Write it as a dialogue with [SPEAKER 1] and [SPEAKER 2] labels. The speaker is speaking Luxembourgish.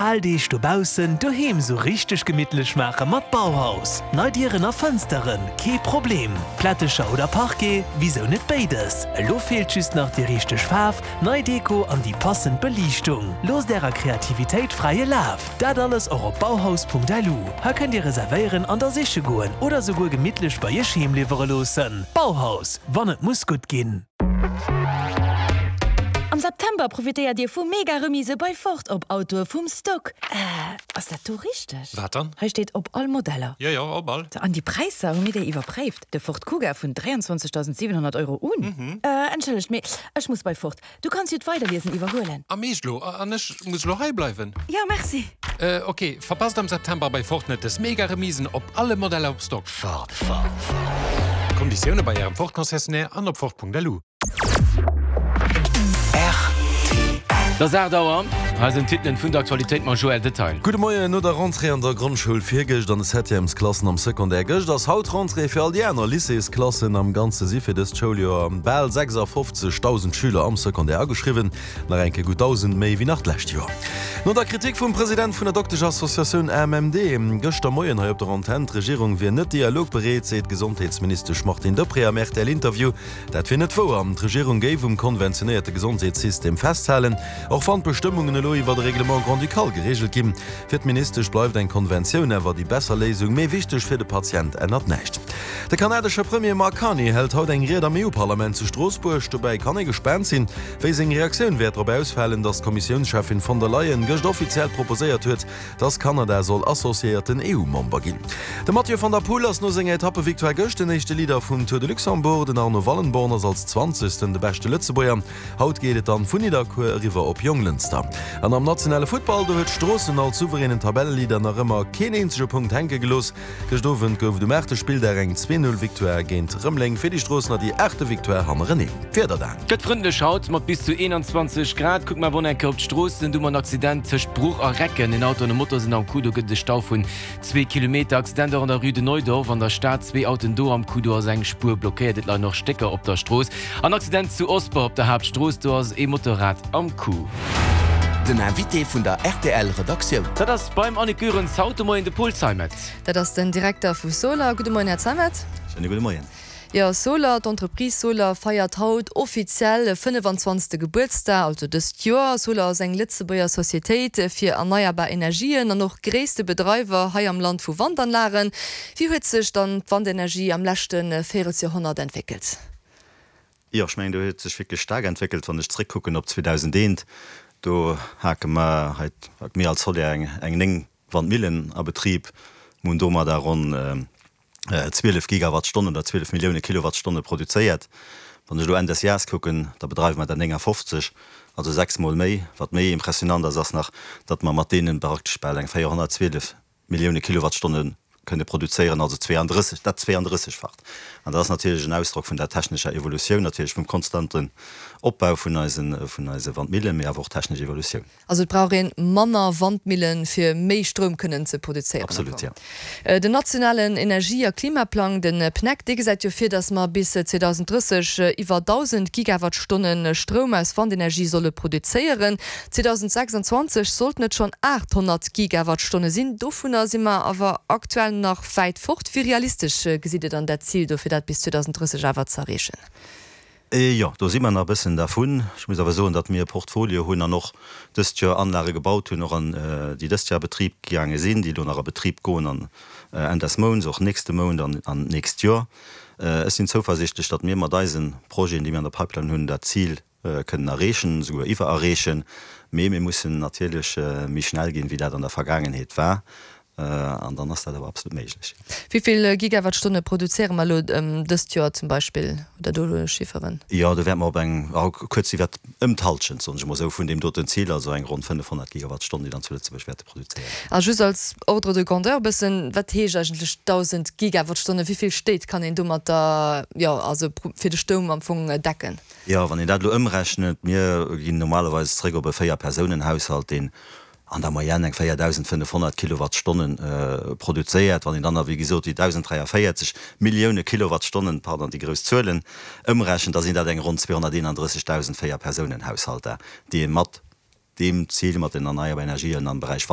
[SPEAKER 1] Al Deeg dobaussen, doheem sou richteg gemittlech maache mat Bauhaus. Nei Dieren a Fënsteren, kee Problem. Plättecher oder Parquet, wisou net béides? Elo feelt just nach déi richteg Faarf, nei Deko an déi passend Beliichtung. Loosst ärer Kreativitéit fräie Laf! Dat alles och op bauhaus.lu. Hei kënnt dir reservéieren an da siche goen oder souguer gemittlech bei iech heem liwwere loossen. Bauhaus, wann et muss gutt ginn.
[SPEAKER 2] Am September profitéiert Dir vu mega Remise bei Ford op Autoe vum Stock. Äh, ass dat do richteg?
[SPEAKER 3] Wat dann?
[SPEAKER 2] Hei steet op all Modeller.
[SPEAKER 3] Jo, jo, op all.
[SPEAKER 2] An déi Präisser, hu mir déi iwwerpréift? De Ford Kuga vun 23.700 Euro un. Äh, entschëllegt, mee ech muss bei Ford. Du kanns jo d'Weiderliesen iwwerhuelen.
[SPEAKER 3] Am Eescht lo? An ech muss lo hei bleiwen?
[SPEAKER 2] Jo, merci.
[SPEAKER 3] Äh, ok. Verpasst am September bei Ford net des mega Remisen op alle Modeller op Stock.
[SPEAKER 1] Ford, Ford, Ford.
[SPEAKER 3] Konditioune bei Ärem Ford Concessionnaire an op Ford.lu.
[SPEAKER 1] Rtl.
[SPEAKER 4] Et ass 8 Auer. Hei sinn d'Titelen vun der Aktualitéit mam Joël Detail.
[SPEAKER 5] Gudde Moien, No der Rentrée an der Grondschoul virgëscht an de Septièmesklassen am Secondaire gëscht, ass haut d'Rentrée fir all déi aner Lycéesklassen. Am Ganze si fir dëst Schouljoer bal 56.000 Schüler am Secondaire ageschriwwen, nach eng Kéier gutt 1.000 méi wéi nach d'lescht Joer. No der Kritik vum President vun der Dokteschassociatioun AMMD gëschter Moien hei op der Antenn, d'Regierung wier net dialogbereet, seet d'Gesondheetsministesch Martine Deprez am RTL-Interview. Dat wier net wouer. D'Regierung géif um konventionéierte Gesondheetssystem festhalen, och wann d'Bestëmmungen elo iwwer e Règlement grand-ducal gereegelt ginn. Fir d'Ministesch bleift eng Konventioun awer déi besser Léisung, mee wichteg fir de Patient ännert näischt. De kanadesche Premier Mark Carney hält haut eng Ried am EU-Parlament zu Stroossbuerg. Dobäi kann ee gespaant sinn, wéi seng Reaktioun wäert drop ausfalen, datt d'Kommissiounscheffin von der Leyen gëscht offiziell proposéiert huet, datt Kanada soll associéierten EU-Member ginn. De Mathieu van der Poel ass no senger Etappevictoire gëscht den éischte Leader vum Tour de Luxembourg. Den Arno Wallenborn ass als Zwanzegsten de beschte Lëtzebuerger. Haut geet et dann vun Nidderkuer eriwwer op Jonglënster. An am nationale Futtball, do huet Stroossen als souveränen Tabelleleader nach ëmmer keen eenzege Punkt hänke gelooss. Gëscht Owend gouf et um aachte Spilldag eng 2, 0 Victoire géint Rëmeleng. Fir déi Stroossener déi aachte Victoire hannereneen. D'Wieder
[SPEAKER 4] dann. Gëtt frëndlech haut mat bis zu 21 Grad. Kucke mer awer och nach eng Kéier op d'Stroossen. Do hu mer en Accident tëscht Bruch a Recken. En Auto an e Motor sinn am Coup. Do gëtt et e Stau vun Zwee Kilometer Accident och an der Rue de Neudorf an der Stad. Zwee Autoen do am Coup, do ass eng Spuer blockéiert. Et leien och Stécker op der Strooss. An Accident zu Osper op der Haaptstrooss, do ass ee Motorrad am Coup.
[SPEAKER 1] Den Invité vun der rtl Redaktioun.
[SPEAKER 4] Dat ass beim Annick Goerens haut de Moien de Paul Zeimet.
[SPEAKER 6] Dat ass den Direkter vu Soler. Gudde Moien, Här Zeimet.
[SPEAKER 7] Schéine gudde Moien.
[SPEAKER 6] Jo, Soler, d'Entreprise Soler feiert haut offiziell e 25. Gebuertsdag, also dëst Joer. Soler ass eng Lëtzebuerger Societéit fir erneierbar Energien an och gréisste Bedreiwer hei am Land vu Wandanlagen. Wéi huet sech dann d'Wandenergie am leschte Véirelsjoerhonnert entwéckelt?
[SPEAKER 7] Jo, ech mengen, do huet sech wierklech staark entwéckelt. Wann ech zréckkucken op 2001, do hake mer hei, mir als Soler, eng 9 Wandmillen a Betrib, mir hunn domadder ronn 12 Gigawattstonnen oder 12 Millioune Kilowattstonne produzéiert. Wann ech elo Enn des Jahres kucken, da bedreiwe mer der 59, also sechsmol méi. Wat méi impressionant ass, ass nach, datt mer mat deene praktesch bal eng 412 Millioune Kilowattstonne kënne produzéieren, also 32, dat 32-facht. An dat ass natierlech en Ausdrock vun der technescher Evolutioun, natierlech vum konstanten Opbau vun eise vun eise Wandmillen, mee awer och technesch Evolutioun.
[SPEAKER 6] Also et brauch een manner Wandmillen fir méi Stroum kënnen ze produzéieren.
[SPEAKER 7] Absolut, jo.
[SPEAKER 6] Den nationalen Energie a Klimaplang, den PNEC, dee gesäit jo vir, datt mer bis 2030 iwwer 1.000 Gigawattstonne Stroum aus Wandenergie solle produzéieren. 2026 sollten et schonn 800 Gigawattstonne sinn. Dovunner si mer awer aktuell nach wäit fort. Wéi realistesch gesitt Dir dann dat Zil do, fir dat bis 2030 awer ze erreechen?
[SPEAKER 7] Jo, do si mer nach e bëssen dervun. Ech muss awer soen, datt mir e Portfolio hunn an och dëst Joer Anlage gebaut hunn, och an déi dëst Joer a Betrib gaange sinn, déi elo nach a Betrib goen an Enn des Mounts, och nächste Mount an an d'nächst Joer. Ech sinn zouversichtlech, datt mir mat eise Projeten, déi mir an der Pipeline hunn, dat Zil kënnen erreechen, esouguer iwwererreechen. Mee mir mussen natierlech méi schnell ginn, wéi dat an der Vergaangenheet war. An dann ass dat awer absolut méiglech.
[SPEAKER 6] Wéi vill Gigawattstonne produzéiere mer elo dëst Joer zum Beispill? Hutt Der do elo Chifferen?
[SPEAKER 7] Jo, do wäerte mer op eng, kuerz iwwert, ëm d'Hallschent, soen ech emol esou, vun deem doten Zil, also eng ronn 500 Gigawattstonn, déi dann zu Lëtzebuerg wäerte produzéiert ginn.
[SPEAKER 6] A just als Ordre de grandeur e bëssen, Wat heescht eigentlech 1.000 Gigawattstonne? Wéi vill Stéit kann een domatter, jo, also fir de Stoum am Fong decken?
[SPEAKER 7] Jo, wann een dat elo ëmrechnet, mir ginn normalerweis zréck op e Véierpersounen-Haushalt, deen an der Moyenne eng 4.500 Kilowattstonnen produzéiert. Wann een dann nach, wéi gesot, déi 1.043 Millioune Kilowattstonnen, pardon, déi grouss Zuelen, ëmrechent, da sinn dat eng ronn 231.000 Véierpersounen-Haushalter, déi ee mat. deem Zil mat den erneierbar Energien am Beräich Wand.